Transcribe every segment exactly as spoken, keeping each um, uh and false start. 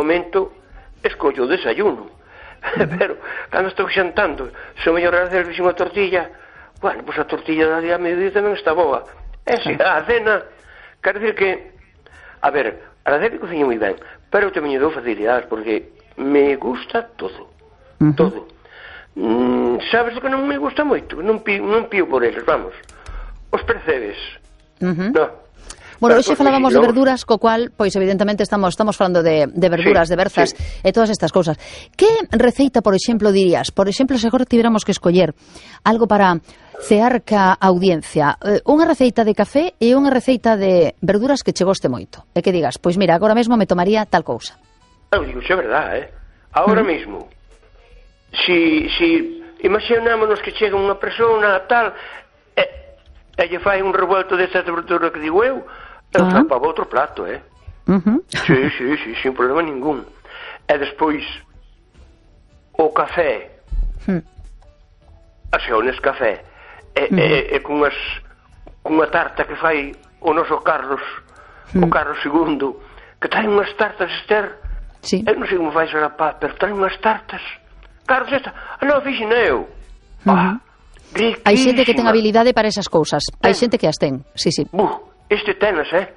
momento escollo o desayuno. Pero, cando estou xantando, se o mellor agradecer fixo unha tortilla, bueno, pois a tortilla da día a mediodía tamén está boa. E se a cena, quero dicir que, a ver, agradecer que cociño moi ben, pero tamén lle dou facilidades, porque me gusta todo, uh-huh. todo. Mm, sabes o que non me gusta moito? Non pío, non pío por eles, vamos. Os percebes. Uh-huh. No. Bueno, hoxe falábamos de verduras, co cual, pois evidentemente estamos estamos falando de, de verduras, sí, de berzas, sí, e todas estas cousas. Que receita, por exemplo, dirías? Por exemplo, se agora tiveramos que escoller algo para cear ca audiencia, eh, unha receita de café e unha receita de verduras que che goste moito. E que digas, pois mira, agora mesmo me tomaría tal cousa. Eu digo, é verdade, eh? Agora uh-huh. mesmo, si, si imaginámonos que chega unha persona tal, e, e lle fai un revuelto desta verdura que digo eu, eu uh-huh. trapaba outro plato, eh? Uh-huh. Sí, sí, sí, sin problema ningún. E despois, o café, uh-huh. a xeones café, e, uh-huh. e, e cunhas, cunha tarta que fai o noso Carlos, uh-huh. o Carlos segundo, que trae unhas tartas, Esther, sí. eu non sei como fai ese rapaz, pero trae unhas tartas. Carlos, esta, ah, non, fixen eu. Uh-huh. Ah, riquísima. Hai xente que ten habilidade para esas cousas, hai xente que as ten, sí, sí. Buh. Este tenas, eh?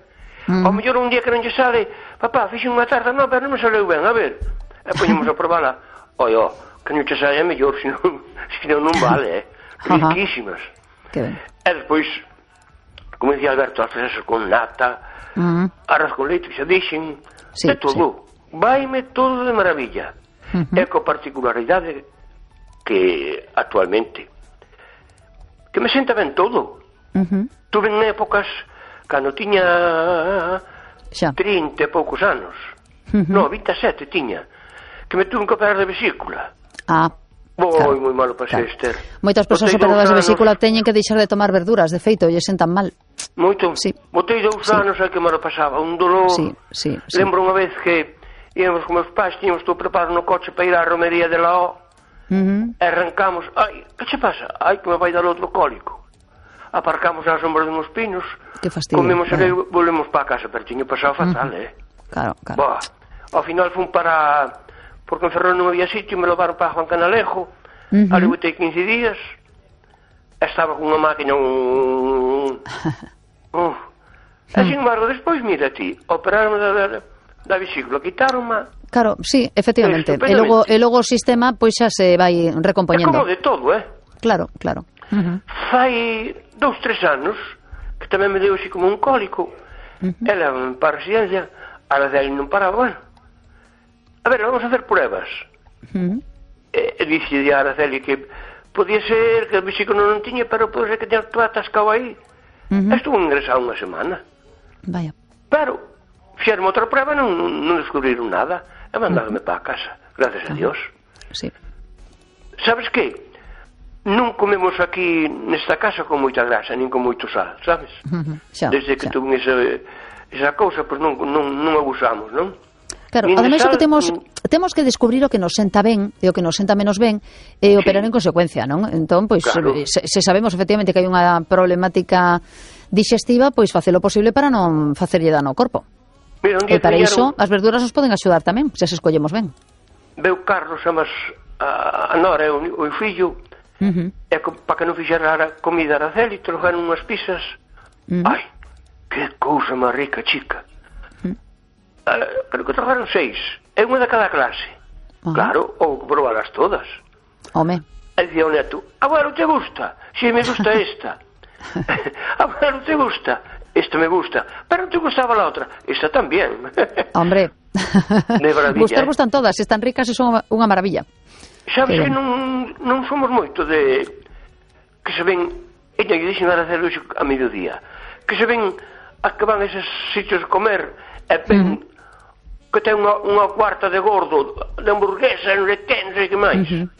Mm. Ao mellor un día que non lle sale, papá, fixe unha tarta, non, pero non me saleu ben, a ver. E poñemos a probala. Oi, ó, que non che saia mellor, senón, senón non vale, eh? Riquísimas. Que ben. E despois, como dicía Alberto, as fresas con nata, mm. arroz con leite, que xa dixen, sí, de todo. Sí. Vaime todo de maravilla. Uh-huh. E co particularidade que actualmente que me senta ben todo. Uh-huh. Tuve en épocas cando tiña xa. trinta e poucos anos, uh-huh. no, vinte e sete tiña, que me tuve que operar de vesícula. Ah, moi, claro, moi malo pasei, claro. Esther. Moitas persoas operadas de vesícula teñen que deixar de tomar verduras, de feito, lle sentan mal. Moito, sí. Botei dous sí. anos aí que me lo pasaba, un dolor. Sí, sí, sí. Lembro unha vez que íamos con meus pais, tiñamos todo preparado no coche para ir á romería de la O, uh-huh. e arrancamos, ai, que che pasa? Ai, que me vai dar outro cólico. Aparcamos á sombra de uns pinos, comemos e claro. volvemos para a casa, pero tiño pasado fatal, uh-huh. eh? Claro, claro. Boa. Ao final fun para, porque en Ferrol non había sitio, me levaron para Juan Canalejo, uh-huh. ali botei quince días, estaba con unha máquina, un... uh. e sin embargo, despois, mira ti, operaron da, da, da vesícula, quitaron-ma. Claro, sí, efectivamente, e logo, e logo o sistema, pois xa se vai recompoñendo. É como de todo, eh? Claro, claro. Uh-huh. Fai dous, tres anos que tamén me deu así como un cólico. Uh-huh. Ela para a residencia, a la dele non paraba, bueno. A ver, vamos a hacer pruebas. Uh-huh. E, e dixe a Araceli que podía ser que o vesículo non tiña, pero pode ser que tenha todo atascado aí. Uh-huh. Estuvo ingresado unha semana. Vaya. Pero fixeron outra prueba e non, non descubriron nada. E mandáronme uh-huh. para a casa, gracias uh-huh. a Dios. Sí. Sabes que? Non comemos aquí nesta casa con moita grasa, nin con moito sal, sabes? Uh-huh. Xa, desde que xa. tuve esa, esa cousa, pois non, non, non abusamos, non? Claro, ademais o que temos temos que descubrir o que nos senta ben e o que nos senta menos ben e operar sí. en consecuencia, non? Entón, pois, claro. se, se sabemos efectivamente que hai unha problemática digestiva, pois facelo posible para non facerlle dano ao corpo. Mira, un e día para iso, pillaron... as verduras nos poden axudar tamén, se as escollemos ben. Veu Carlos, amas a, a Nora e o, o fillo, uh-huh. e para que non fixera a comida a Araceli, trouxeron unhas pizzas. Uh-huh. Ai, que cousa máis rica, chica. Uh-huh. Uh, creo que trouxeron seis, e unha de cada clase. Uh-huh. Claro, ou probalas todas. Home. E dicía o neto, abuelo, te gusta? Si, sí, me gusta esta. Abuelo, te gusta? Esta me gusta, pero te gustaba la otra. Esta también. Hombre, de maravilla, gustar eh? gustan todas, están ricas e son unha maravilla. Sabes que, que non, non somos moito de que se ven, ella lle dixen a hacer a mediodía, que se ven a que van a esos sitios de comer e ven uh-huh. que ten unha, unha cuarta de gordo, de hamburguesa, non sei que, non sei que máis. Uh-huh.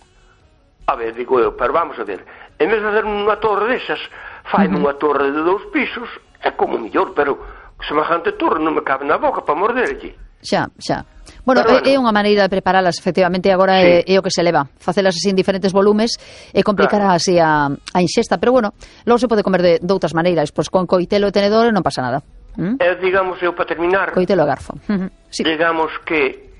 A ver, digo eu, pero vamos a ver, en vez de fazer unha torre desas, faime uh-huh. unha torre de dous pisos, é como mellor, pero semejante torre non me cabe na boca para morderlle. Xa, xa. Bueno, bueno, é unha maneira de preparalas, efectivamente, agora sí. é, é o que se leva. Facelas así en diferentes volumes e complicar claro. así a, a inxesta. Pero bueno, logo se pode comer de, de outras maneiras. Pois con coitelo e tenedor non pasa nada. ¿Mm? E digamos, eu para terminar... Coitelo e garfo. Uh-huh. Sí. Digamos que